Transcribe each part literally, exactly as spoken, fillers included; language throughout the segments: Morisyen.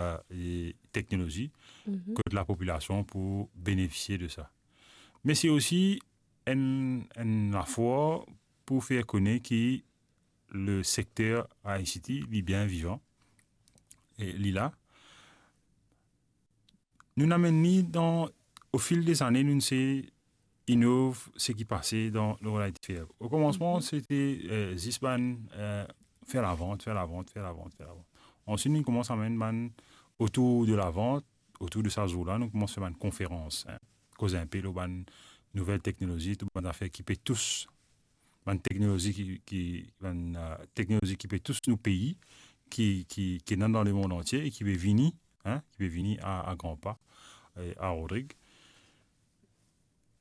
euh, e teknolozi, kot lapopilasion pou benefisie de sa. Me se osi enn, enn lafor pou fer kone ki le sekter I C T, li bien vivan, e li la. Nou'nn amenn li dan, o fil de zane, nou'nn se inov seki pase dan le Rod I T Fair. O komansman, se te, eh, zis bann, eh, fer lavant, fer lavant, fer lavant, fer lavant. Answit, nou'nn koumans amenn bann otour de lavant, otour de sa zour la, nou koumans fer bann konferans, en. Koz inpe lor bann nouvel teknolozi, tou bann zafer ki pe tous, bann teknolozi ki, ki, bann, eh, teknolozi ki pe tous nou pei, ki, ki, ki ena dan lemond antie e ki pe vini, en, ki pe vini a, a gran pa, eh, a Rodrig.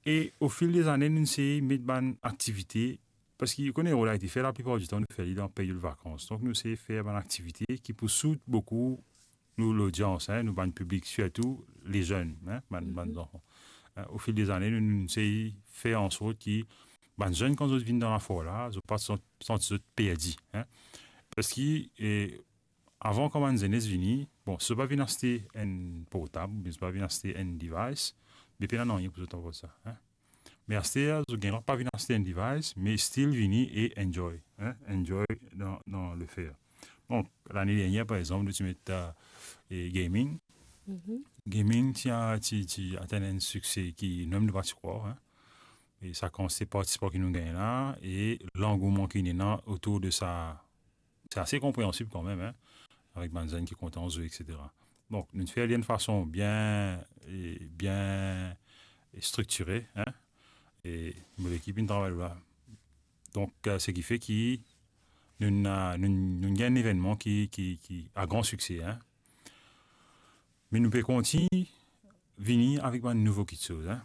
E o fil de zane, nou sey met bann aktivite, parski ou kone Rod I T Fair, laplipar ditan, nou fer li dan period vakans. Donk, nou sey fer bann aktivite ki pou sout boukou nou lodians, en, nou bann piblik, sirtou le zenn, en, bann, bann zanfan. En, o fil de zane, nou, nou sey fer ansort ki bann zenn, kan zot vinn dan lafor la, zot pa sant-, santi zot perdi, en. Parski, e, avan, kan bann zenes vini, bon, si zot pa vinn aste enn portab, oubien si zot pa vinn aste enn device, be pena nanye pou zot aport sa, en. Me aster, zot gagn drwa pa vinn aste enn device, me still vini e enjoy, en, enjoy dan, dan le fair. Donk, lane dernier, par exanp, nou ti met, eh, e gaming. Gaming ti a, ti, ti atenn enn sikse ki nou mem nou pa ti krwar, en. E sa kan se partisipan ki nou gagn la, e langouman ki ena otour de sa, se ase konpreansib kanmem, en, avek bann zenn ki kontan zwe, et cetera. Donk, nou fer li enn fason bien, e bien striktire, en, e mo lekip inn travay la. Donk, eh, seki fer ki nou, nou, nou gagn enn evennman ki, ki, ki a gran sikse, en. Me nou pe kontign vini avek bann nouvo kitsoz, en.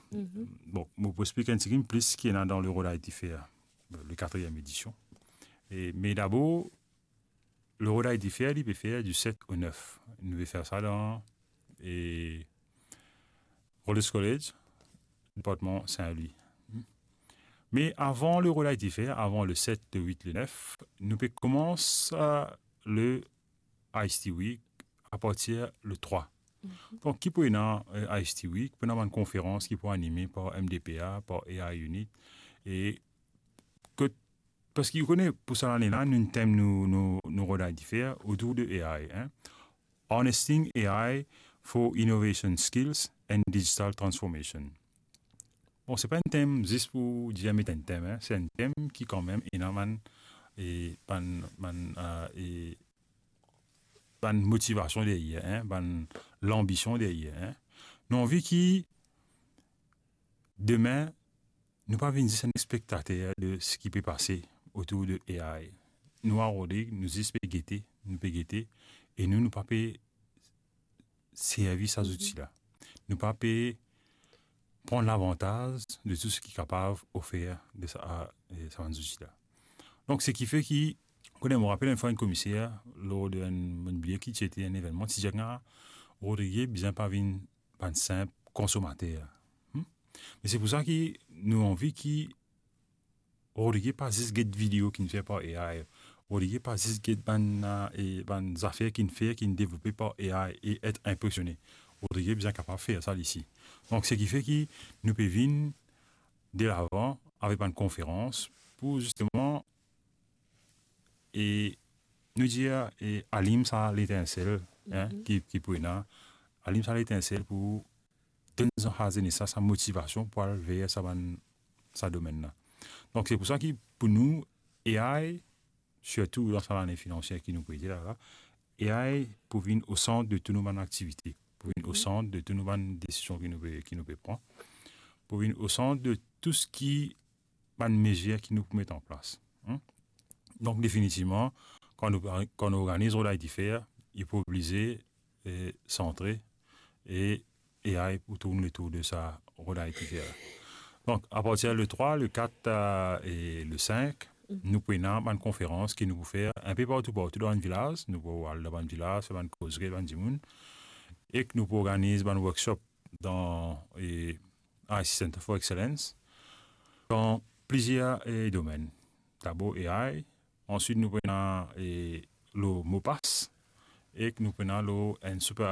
Bon, mo pou explik enn tigit plis ki ena dan le Rod I T Fair, le katriem edision. E, me dabor, le Rod I T Fair, li pe fer di set o nef. Nou pe fer sa dan, e, Rhodes College, departman Saint-Louis. Me avan le Rod I T Fair, avan le set, le wit, le nef, nou pe koumans, eh, le I C T Week apartir le trwa. Donk, ki pou ena, eh, I C T Week, pou ena bann konferans ki pou anime par M D P A, par A I Unit, e kot, parski ou kone, pou sa lane la, nou tem nou, nou, nou Rod I T Fair otour de A I, en. Harnessing A I for Innovation Skills and Digital Transformation. Bon, se pa enn tem zis pou dir met enn tem, en. Se enn tem ki kanmem ena bann, e, bann, bann, eh, e, bann motivasion deryer, en, bann lanbision deryer, en. Nou anvi ki demin, nou pa vinn zis enn spektater de seki pe pase otour de A I. Nou a Rodrig, nou zis pe gete, nou pe gete, e nou, nou pa pe servi sa zouti la. Nou pa pe pran lavantaz de tou seki kapav ofer de sa, e, sa bann zouti la. Donk, seki fer ki, kone, mo rapel enn fwa enn komiser, lor de enn, mo bliye ki ti ete enn evennman, ti dir, "Ah, Rodrig bizin pa vinn bann sinp konsomater." Hmm? Me se pou sa ki nou anvi ki Rodrig pa zis get video ki'nn fer par A I. Rodrig pa zis get bann, eh, e bann zafer ki'nn fer, ki'nn devlope par A I e et inpresione. Rodrig bizin kapav fer sa li osi. Donk, seki fer ki nou pe vinn delavan avek bann konferans pou zisteman, e nou dir, e alim sa letinsel, en, ki, ki pou ena, alim sa letinsel pou donn sa zenes la sa motivasion pou al ver sa bann, sa domenn la. Donk, se pou sa ki, pou nou, A I, sirtou dan sa lane finansier ki nou pou ete la, la, A I pou vinn o sant de tou nou bann aktivite, pou vinn o sant de tou nou bann desizion ki nou pe, ki nou pe pran, pou vinn o sant de tou seki bann mezir ki nou pou met an plas. Hmm? Donk, definitivman, kan nou, kan nou organiz Rod I T Fair, li pou oblize, eh, santre, e, e A I pou tourn letour de sa Rod I T Fair. Donk, apartir le trwa, le kat, eh, e le sink, nou pou ena bann konferans ki nou pou fer inpe partou, partou dan bann vilaz. Nou pou al dan bann vilaz, fer bann kozri, bann dimoun, ek nou pou organiz bann workshop dan, e, I C Center for Excellence dan plizier, e, domenn. Dabor A I, answit nou pou ena, e, lor MOPASS, ek nou pou ena lor enn super